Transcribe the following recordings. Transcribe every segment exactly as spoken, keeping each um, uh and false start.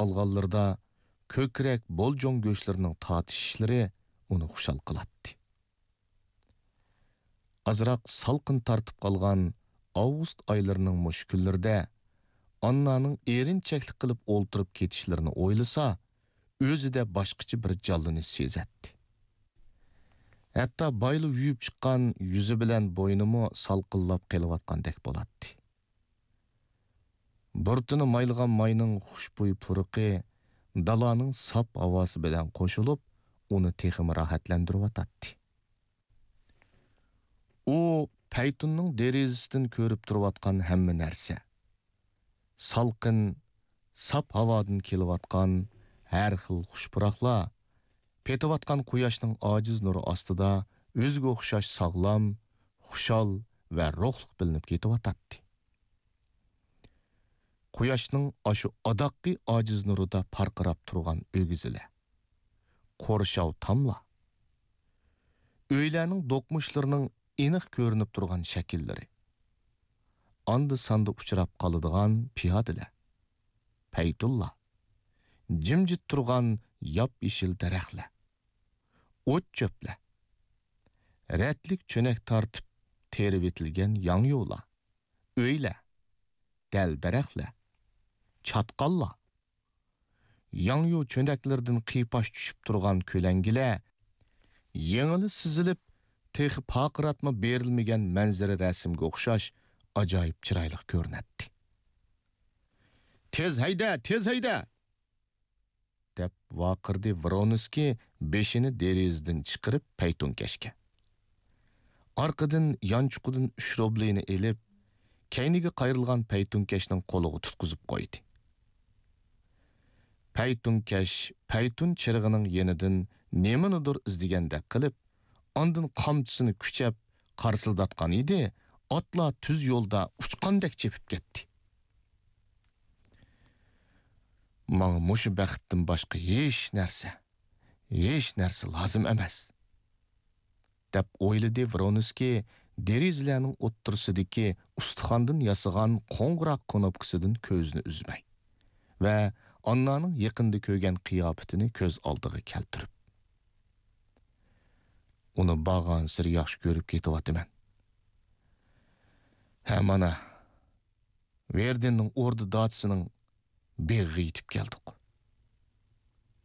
ئالغانلىرىدا كۆكرەك، بولجۇڭ گۆشلىرىنىڭ تارتىشىشلىرى ئۇنى خۇشال قىلاتتى. ئازراق سالقىن تارتىپ قالغان ئاۋغۇست ئايلىرىنىڭ مۇشۇ كۈنلىرىدە ئاننانىڭ ئېرىنچەكلىك قىلىپ ئولتۇرۇپ كېتىشلىرىنى ئويلىسا، ئۆزىدە باشقىچە بىر جانلىنىش سېزەتتى. ھەتتا بايىلا يۇيۇپ چىققان يۈزى بىلەن بوينىمۇ سالقىنلاپ قېلىۋاتقاندەك بولاتتى. بۇرۇتىنى مايلىغان ماينىڭ خۇشبۇي پۇرىقى دالانىڭ ساپ ھاۋاسى بىلەن قوشۇلۇپ، ئۇنى تېخىمۇ راھەتلەندۈرۈۋاتاتتى. ئۇ پەيتۇننىڭ دېرىزىسىدىن كۆرۈپ تۇرۇۋاتقان ھەممە نەرسە، سالقىن، ساپ ھاۋادىن كېلىۋاتقان ھەر خىل خۇش پۇراقلار، پېتىۋاتقان قۇياشنىڭ ئاجىز نۇرى ئاستىدا ئۆزىگە ئوخشاش ساغلام، خۇشال ۋە روھلۇق بىلىنىپ كېتىۋاتاتتى. قۇياشنىڭ ئاشۇ ئاداققى ئاجىز نۇرىدا پارقىراپ تۇرغان ئۆگزىلەر، قورشاۋ تاملار، ئۆيلەرنىڭ دوقمۇشلىرىنىڭ ئېنىق كۆرۈنۈپ تۇرغان شەكىللىرى، ئاندا-ساندا ئۇچراپ قالىدىغان پىيادىلەر، پەيتۇنلار، جىمجىت تۇرغان ياپيېشىل دەرەخلەر، ئوت-چۆپلەر، رەتلىك چۆنەك تارتىپ تېرىۋېتىلگەن ياڭيۇلار، ئۆيلەر، دەل-دەرەخلەر، چاتقاللار، ياڭيۇ چۆنەكلىرىدىن قىيپاش چۈشۈپ تۇرغان كۆلەڭگىلەر، يېڭىلا سىزىلىپ، تېخى پارقىراتما بېرىلمىگەن مەنزىرە رەسىمگە ئوخشاش ئاجايىپ چىرايلىق كۆرۈنەتتى. «تېز ھەيدە، تېز ھەيدە!» دەپ ۋارقىرىدى ۋرونسكىي بېشىنى دېرىزىدىن چىقىرىپ پەيتۇنكەشكە. ئارقىدىن يانچۇقىدىن ئۈچ روبلىنى ئېلىپ، كەينىگە قايرىلغان پەيتۇنكەشنىڭ قولىغا تۇتقۇزۇپ قويدى. پەيتۇنكەش پەيتۇن چىرىغىنىڭ يېنىدىن نېمىنىدۇر ئىزدىگەندەك قىلىپ، ئاندىن قامچىسىنى كۈچەپ قارسىلداتقان ئىدى، ئاتلار تۈز يولدا ئۇچقاندەك چېپىپ كەتتى. «ماڭا مۇشۇ بەختتىن باشقا ھېچ نەرسە، ھېچ نەرسە لازىم ئەمەس.» دەپ ئويلىدى ۋرونسكىي دېرىزىلەرنىڭ ئوتتۇرىسىدىكى ئۇستىخاندىن ياسىغان قوڭغۇراق كۇنۇپكىسىدىن كۆزىنى ئۈزمەي ۋە ئاننانىڭ يېقىندا كۆرگەن قىياپىتىنى كۆز ئالدىغا كەلتۈرۈپ. «ئۇنى بارغانسېرى ياخشى كۆرۈپ كېتىۋاتىمەن. ھە، مانا، ۋېردىننىڭ ئوردا داچىسىنىڭ بېغىغا يېتىپ كەلدۇق.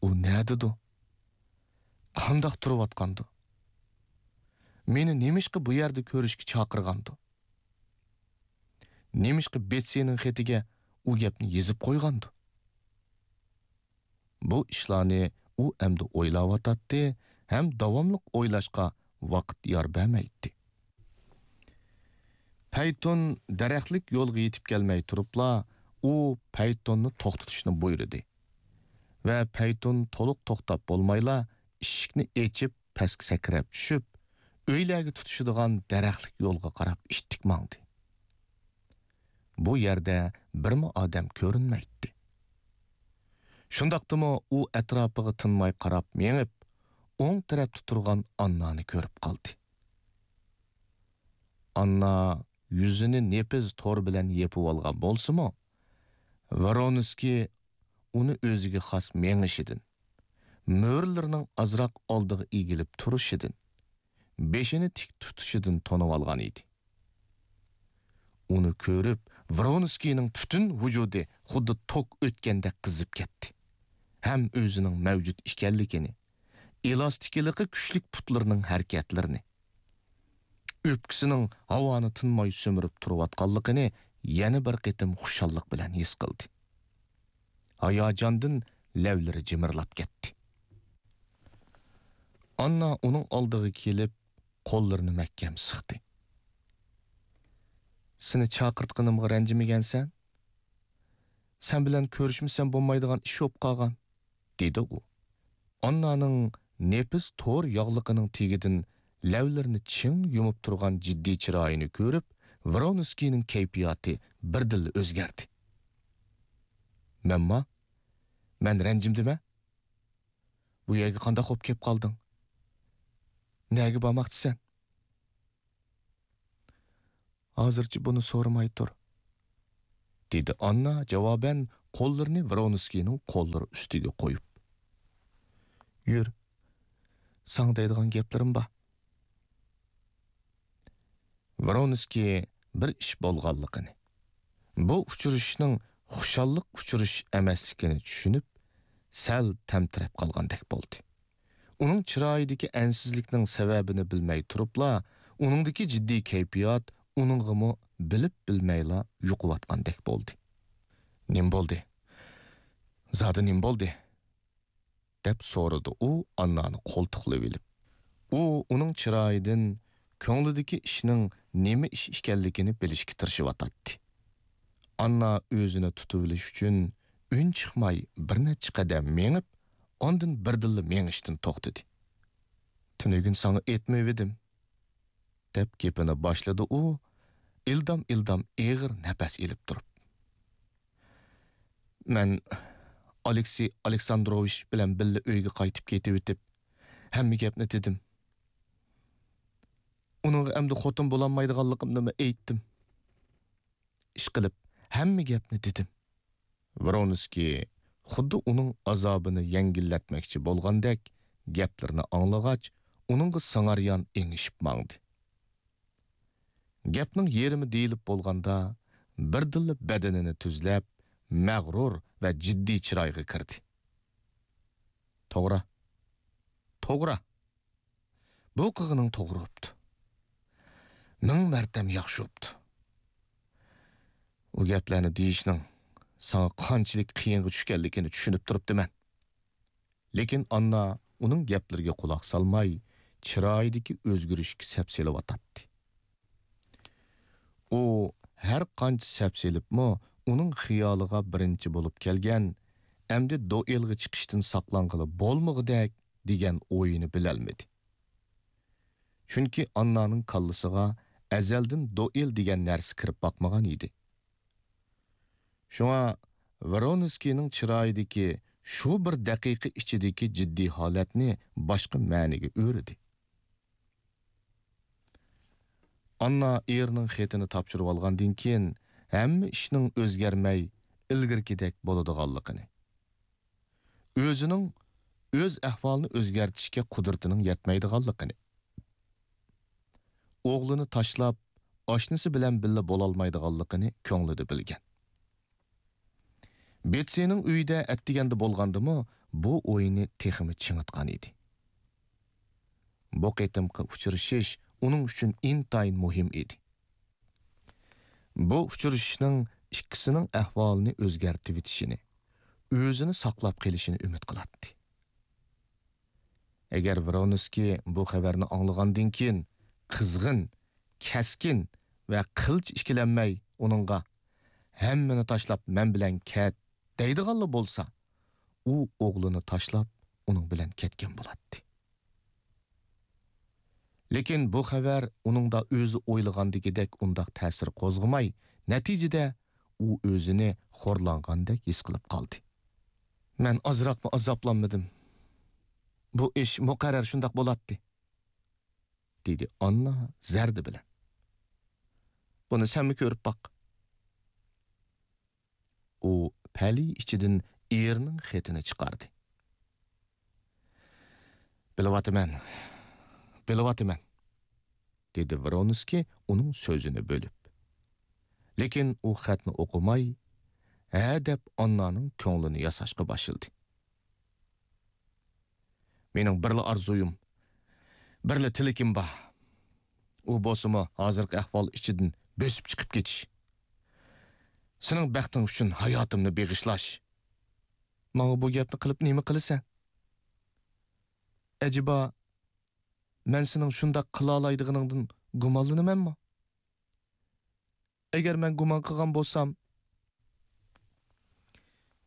ئۇ نەدىدۇ؟ قانداق تۇرۇۋاتقاندۇ؟ مېنى نېمىشقا بۇ يەردە كۆرۈشكە چاقىرغاندۇ؟ نېمىشقا بېتسىنىڭ خېتىگە ئۇ گەپنى يېزىپ قويغاندۇ؟» بۇ ئىشلارنى ئۇ ئەمدى ئويلاۋاتاتتى ھەم داۋاملىق ئويلاشقا ۋاقىت يار بەرمەيتتى. پەيتۇن دەرەخلىك يولغا يېتىپ كەلمەي تۇرۇپلا، ئۇ پەيتۇننى توختىتىشنى بۇيرۇدى ۋە پەيتۇن تولۇق توختاپ بولمايلا، ئىشىكنى ئېچىپ، پەسكە سەكرەپ چۈشۈپ، ئۆيلەرگە تۇتىشىدىغان دەرەخلىك يولغا قاراپ ئىتتىك ماڭدى. بۇ يەردە بىرمۇ ئادەم كۆرۈنمەيتتى. شۇنداقتىمۇ ئۇ ئەتراپىغا تىنماي قاراپ مېڭىپ، ئوڭ تەرەپتە تۇرغان ئاننانى كۆرۈپ قالدى. ئاننا يۈزىنى نېپىز تور بىلەن يېپىۋالغان بولسىمۇ، ۋرونسكىي ئۇنى ئۆزىگە خاس مېڭىشىدىن، مۈرىلىرىنىڭ ئازراق ئالدىغا ئېگىلىپ تۇرۇشىدىن، بېشىنى تىك تۇتۇشىدىن تونۇۋالغان ئىدى. ئۇنى كۆرۈپ، ۋرونسكىينىڭ پۈتۈن ۋۇجۇدى خۇددى توك ئۆتكەندەك قىزىپ كەتتى ھەم ئۆزىنىڭ مەۋجۇت ئىكەنلىكىنى، ئېلاستىكىلىقى كۈچلۈك پۇتلىرىنىڭ ھەرىكەتلىرىنى، ئۆپكىسىنىڭ ھاۋانى تىنماي سۈمۈرۈپ تۇرۇۋاتقانلىقىنى يەنە بىر قېتىم خۇشاللىق بىلەن ھېس قىلدى. ھاياجاندىن لەۋلىرى جىمىرلاپ كەتتى. ئاننا ئۇنىڭ ئالدىغا كېلىپ، قوللىرىنى مەھكەم سىقتى. «سېنى چاقىرتقىنىمغا رەنجىمىگەنسەن؟ سەن بىلەن كۆرۈشمىسەم بولمايدىغان ئىش بولۇپ قالغان»، دېدى ئۇ. ئاننانىڭ نېپىز تور ياغلىقىنىڭ تېگىدىن لەۋلىرىنى چىڭ يۇمۇپ تۇرغان جىددىي چىرايىنى كۆرۈپ، ۋرونسكىينىڭ كەيپىياتى بىردىنلا ئۆزگەردى. «مەنما؟ مەن رەنجىمدىمەن؟ بۇ يەرگە قانداق بولۇپ كېلىپ قالدىڭ؟ نەگە بارماقچىسەن؟» «ھازىرچە بۇنى سورىماي تۇر»، دېدى ئاننا جاۋابەن قوللىرىنى ۋرونسكىينىڭ قوللىرى ئۈستىگە قويۇپ. يۈر، ساڭا دەيدىغان گەپلىرىم بار. ۋرونسكىي بىر ئىش بولغانلىقىنى، بۇ ئۇچرىشىشنىڭ خۇشاللىق ئۇچرىشىش ئەمەسلىكىنى چۈشىنىپ، سەل تەمتىرەپ قالغاندەك بولدى. ئۇنىڭ چىرايىدىكى ئەنسىزلىكنىڭ سەۋەبىنى بىلمەي تۇرۇپلا، ئۇنىڭدىكى جىددىي كەيپىيات ئۇنىڭغىمۇ بىلىپ بىلمەيلا يۇقۇۋاتقاندەك بولدى. نېمە بولدى؟ زادى نېمە بولدى؟ دەپ سورىدى ئۇ ئاننانى قولتۇقلىۋېلىپ. ئۇ ئۇنىڭ چىرايىدىن كۆڭلىدىكى ئىشنىڭ نېمە ئىش ئىكەنلىكىنى بىلىشكە تىرىشىۋاتاتتى. ئاننا ئۆزىنى تۇتۇۋېلىش ئۈچۈن ئۈن چىقماي بىر نەچچە قەدەم مېڭىپ، ئاندىن بىردىنلا مېڭىشتىن توختىدى. تۈنۈگۈن ساڭا ئېيتمىۋىدىم، دەپ گېپىنى باشلىدى ئۇ، ئىلدام-ئىلدام ئېغىر نەپەس ئېلىپ تۇرۇپ. مەن ئالېكسېي ئالېكساندروۋىچ بىلەن بىللە ئۆيگە قايتىپ كېتىۋېتىپ، ھەممە گەپنى دېدىم. ئۇنىڭغا ئەمدى خوتۇن بولالمايدىغانلىقىمنىمۇ ئېيتتىم. ئىشقىلىپ، ھەممە گەپنى دېدىم. ۋرونسكىي خۇددى ئۇنىڭ ئازابىنى يەڭگىللەتمەكچى بولغاندەك گەپلىرىنى ئاڭلىغاچ، ئۇنىڭغا سىڭاريان ئېڭىشىپ ماڭدى. گەپنىڭ يېرىمى دېيىلىپ بولغاندا، بىردىنلا بەدىنىنى تۈزلەپ، مەغرۇر ۋە جىددىي چىرايغا كىردى. توغرا. توغرا. بۇ قىلغىنىڭ توغرا بوپتۇ. مىڭ مەرتەم ياخشى بوپتۇ. ئۇ گەپلەرنى دېيىشنىڭ ساڭا قانچىلىك قىيىنغا چۈشكەنلىكىنى چۈشىنىپ تۇرۇپتىمەن. لېكىن ئاننا ئۇنىڭ گەپلىرىگە قۇلاق سالماي، چىرايىدىكى ئۆزگىرىشكە سەپ سېلىۋاتاتتى. ئۇ ھەر قانچە سەپ سېلىپمۇ، ئۇنىڭ خىيالىغا بىرىنچى بولۇپ كەلگەن، ئەمدى دوئېلغا چىقىشتىن ساقلانغىلى بولمىغۇدەك دېگەن ئويىنى بىلەلمىدى. چۈنكى ئاننانىڭ كاللىسىغا ئەزەلدىن دوئېل دېگەن نەرسە كىرىپ باقمىغان ئىدى. شۇڭا ۋرونسكىينىڭ چىرايىدىكى شۇ بىر دەقىقە ئىچىدىكى جىددىي ھالەتنى باشقا مەنىگە ئۆرىدى. ئاننا ئېرىنىڭ خېتىنى تاپشۇرۇۋالغاندىن كېيىن، ھەممە ئىشنىڭ ئۆزگەرمەي، ئىلگىرىكىدەك بولىدىغانلىقىنى، ئۆزىنىڭ ئۆز ئەھۋالىنى ئۆزگەرتىشكە قۇدرىتىنىڭ يەتمەيدىغانلىقىنى، ئوغلىنى تاشلاپ، ئاشنىسى بىلەن بىللە بولالمايدىغانلىقىنى كۆڭلىدە بىلگەن. بېتسىنىڭ ئۆيىدە ئەتىگەندە بولغاندىمۇ، بۇ ئويىنى تېخىمۇ چىڭىتقان ئىدى. بۇ قېتىمقى ئۇچرىشىش ئۇنىڭ ئۈچۈن ئىنتايىن مۇھىم ئىدى. بۇ ئۇچرىشىشنىڭ ئىككىسىنىڭ ئەھۋالىنى ئۆزگەرتىۋېتىشىنى، ئۆزىنى ساقلاپ قېلىشىنى ئۈمىد قىلاتتى. ئەگەر ۋرونسكىي بۇ خەۋەرنى ئاڭلىغاندىن كېيىن قىزغىن، كەسكىن ۋە قىلچە ئىككىلەنمەي ئۇنىڭغا، «ھەممىنى تاشلاپ مەن بىلەن كەت» دەيدىغانلا بولسا، ئۇ ئوغلىنى تاشلاپ ئۇنىڭ بىلەن كەتكەن بولاتتى. لېكىن بۇ خەۋەر ئۇنىڭدا ئۆزى ئويلىغاندىكىدەك ئۇنداق تەسىر قوزغىماي، نەتىجىدە ئۇ ئۆزىنى خورلانغاندەك ھېس قىلىپ قالدى. «مەن ئازراقمۇ ئازابلانمىدىم. بۇ ئىش مۇقەررەر شۇنداق بولاتتى»، دېدى ئاننا زەردە بىلەن. «بۇنى سەنمۇ كۆرۈپ باق.» ئۇ پەلەي ئىچىدىن ئېرىنىڭ خېتىنى چىقاردى. «بىلىۋاتىمەن، بىلىۋاتىمەن»، دېدى ۋرونسكىي ئۇنىڭ سۆزىنى بۆلۈپ. لېكىن ئۇ خەتنى ئوقۇماي، ھە دەپ ئاننانىڭ كۆڭلىنى ياساشقا باشلىدى. «مېنىڭ بىرلا ئارزۇيۇم، بىرلا تىلىكىم بار. ئۇ بولسىمۇ ھازىرقى ئەھۋال ئىچىدىن بۆسۈپ چىقىپ كېتىش. سېنىڭ بەختىڭ ئۈچۈن ھاياتىمنى بېغىشلاش.» «ماڭا بۇ گەپنى قىلىپ نېمە قىلىسەن؟ ئەجەبا، مەن سېنىڭ شۇنداق قىلالايدىغىنىڭدىن گۇمانلىنىمەنمۇ؟ ئەگەر مەن گۇمان قىلغان بولسام»،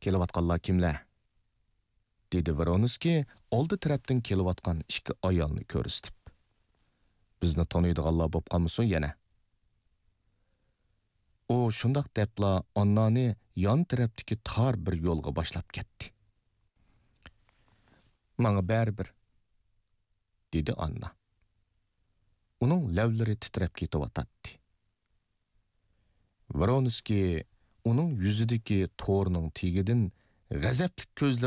«كېلىۋاتقانلار كىملەر؟» دېدى ۋرونسكىي ئالدى تەرەپتىن كېلىۋاتقان ئىككى ئايالنى كۆرسىتىپ. «بىزنى تونۇيدىغانلار بوپ قالمىسۇن يەنە.» ئۇ شۇنداق دەپلا ئاننانى يان تەرەپتىكى تار بىر يولغا باشلاپ كەتتى. «ماڭا بەرىبىر»، دېدى ئاننا. ئۇنىڭ لەۋلىرى تىترەپ كېتىۋاتاتتى. ۋرونسكىي ئۇنىڭ يۈزىدىكى تورنىڭ تېگىدىن غەزەپلىك كۆزلىرى